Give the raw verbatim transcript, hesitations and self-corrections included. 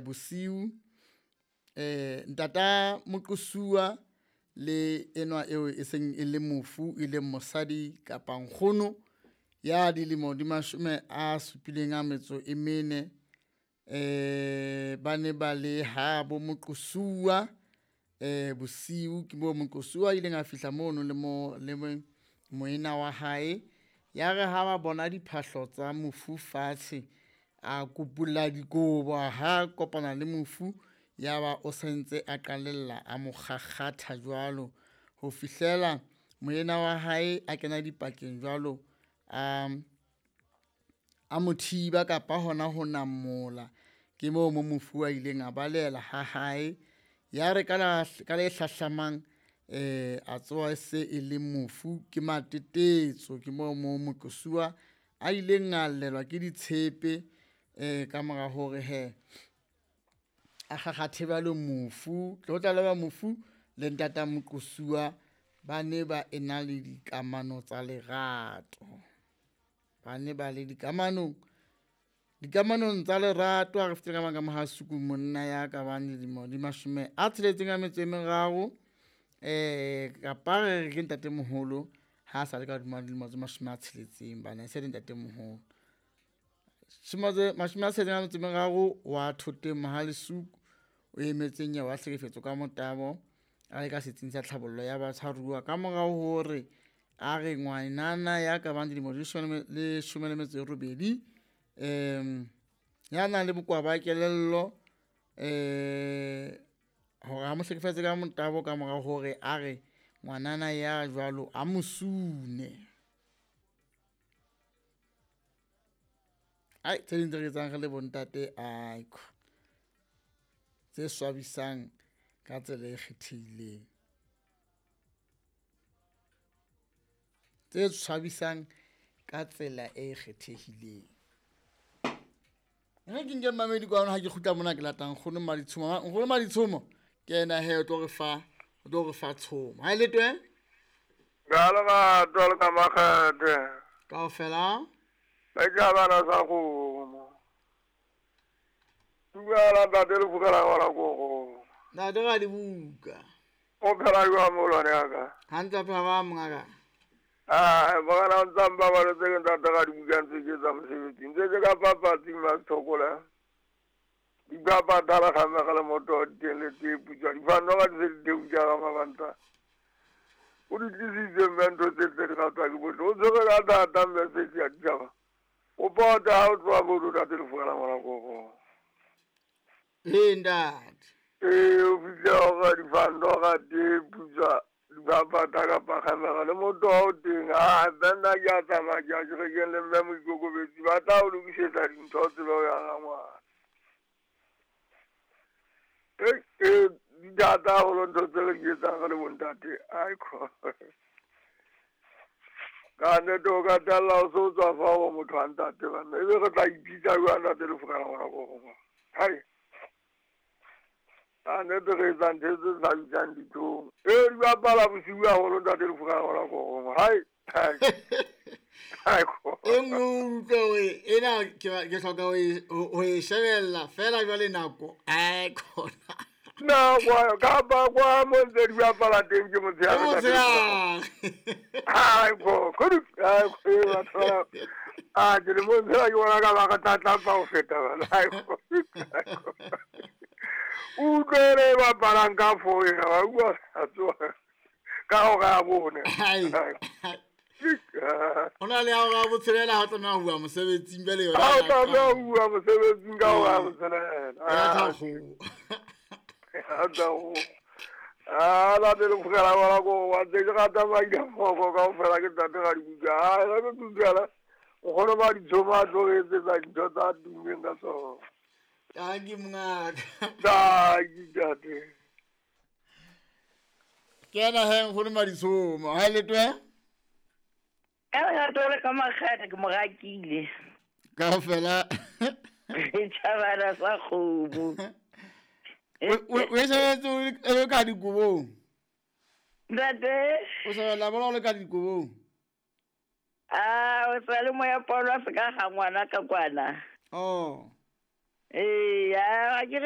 Bosiu eh ntata moqosuwa le enwa eo e seng e le mofu e leng mosadi kapa nkgono ya dilemo di mashome a supileng a metso e mene eh ba ne ba le ha bo moqosuwa eh bosiu ke mo moqosuwa a ileng a fihla mono le mo le moena wa hae. Ya re ha ba bona diphahlo tsa mofu fatshe, a kopulla dikobo ha kopana le mofu, ya ba o sentse a qalella a mo kgakgatha jwalo ho fihlela moena wa hae a kena dipakeng jwalo, a a mo thiba kapa hona ho namola. Ke moo mo mofu a ileng a balehela ha hae. Ya re ka la ka le hlahlamang eh a tsoha e se e le mofu ke matetetso. Ke moo mo moqosuwa a ileng a llelwa ke ditshepe eh ka mora hore hee a kgakgathe jwalo mofu. Ho tlalewa mofu le ntata moqosuwa ba ne ba ena le dikamano tsa lerato, ba ne ba le dikamanong dikamanong tsa lerato. Ha re fetile ka mane ka Mohasuku, monna ya ka bang dilemo di mashome a tsheletseng a metso e meraro eh kapa re re ke ntatemoholo ha sa le ka hodima dilemo tse mashome a tsheletseng bana e se le ntatemoholo. Mashome a tsheletseng a metso e meraro wa Thoteng Mohale'shoek, o emetse nyewe ya tlhekefetso ka motabo a le ka setsing sa tlhabollo ya batshwaruwa ka morao hore a re ngwanana ya ka bang dilemo di leshome le metso e robedi um ya nang le bokowa ba kelello um hore a mo hlekefetse ka motabo ka mora hore a re ngwanana ya jwalo a mo sune. Ai tse ding tse re etsang re le bontate aiko tse swabisang ka tsela e kgethehileng, tse tshwabisang ka tsela e kgethehileng. Re ke nke mmamedi kwano ha ke kgutla mona ke lata nkgono Maditshomo. Nkgono Maditshomo ke yena he o tlo re fa o tlo re fa tshomo. Ha e le twe Ka lerato le ka makgethe kaofela ba sa kgomo. Dumela ntate le fokela ngwana koko. Ntate ra dibuka. O phela jwang moholwane ya ka? Hantle phela ba mongaka. Ah, morena o ntsa mpabaletse ke ntate ra dibuka ntse ke etsa mosebetsi. Ntse ke ka papatsing Masithokola. Dipapatala kgamega le moto teng le tee putswa. Difano ga di se di theutša ka mabanta. O di tlisitse mme ntho tse tse di ratwa ke bohle. O tshwere ka thata mme se ya ditjhaba. O pota ha o tloha mono ntate le fokela ngwana koko. Ee ntate. Ee, o fihle hore difano ga tee putswa dipapata kapa kgamega le moto ha o teng. Ah, mme nna ke a tsamaya ke ya kerekeng le mme Moikokobetsi ba tla o lokisetsa dintho o tsebe ho ya ga ngwana. Ee, ee, di thata haholo ntho tse re di etsang re le bontate. Aiko. Ka nnete o ka tella o se o tswa fa ho motho wa ntate banna. Ebe re tla ipitsa jwang ntate le fokela ngwana koko. Hai. Ka nnete re etsa ntho tse hlabisang dihlong. Ee, di bapala bosiu haholo ntate le fokela ngwana koko. Hai. Hai. Aiko. E nngwe o utlwe hore ena ke ke hloka ho e ho e shebella fela jwale nako ai khona. Na kwa kapa kwa mo ntse di bapala teng ke motshehare. Ke motshehare. Ai ko, kudu ai ko batho ba. Ah, ke le motshehare ke bona ka ba ka tlatla ho feta bana. Ai ko. Utlwele bapalang ka fo ena ba bua tsoa. Ka hora ya bone. Ai. Ho na le hora ya botshelela ha o tlameha ho bua mosebetsing jwale yona. Ha o tlameha ho bua mosebetsing ka hora ya botshelela. Ya thakgo. Ha Ah, la le fokela ngwana koko wa ntse ke rata maina foko kaofela ke ntate ra dibuka. Ah, re ke dumela. Nkgono Maditshomo a tlo re etsetsa dintho tsa tummeng ka tsona. Tanki mongaka. Tanki ntate. Ke yena he nkgono Maditshomo. Ha e le twe? Ka lerato le ka makgethe ke mo rakile. Kaofela. Tjhabana sa kgomo. O o shebetse o le ka dikobong. Ntate. O shebella bolo o le ka dikobong. Ah, o sa le moya polo a se ka ga ngwana ka kwana. Oh. Ee, a ke re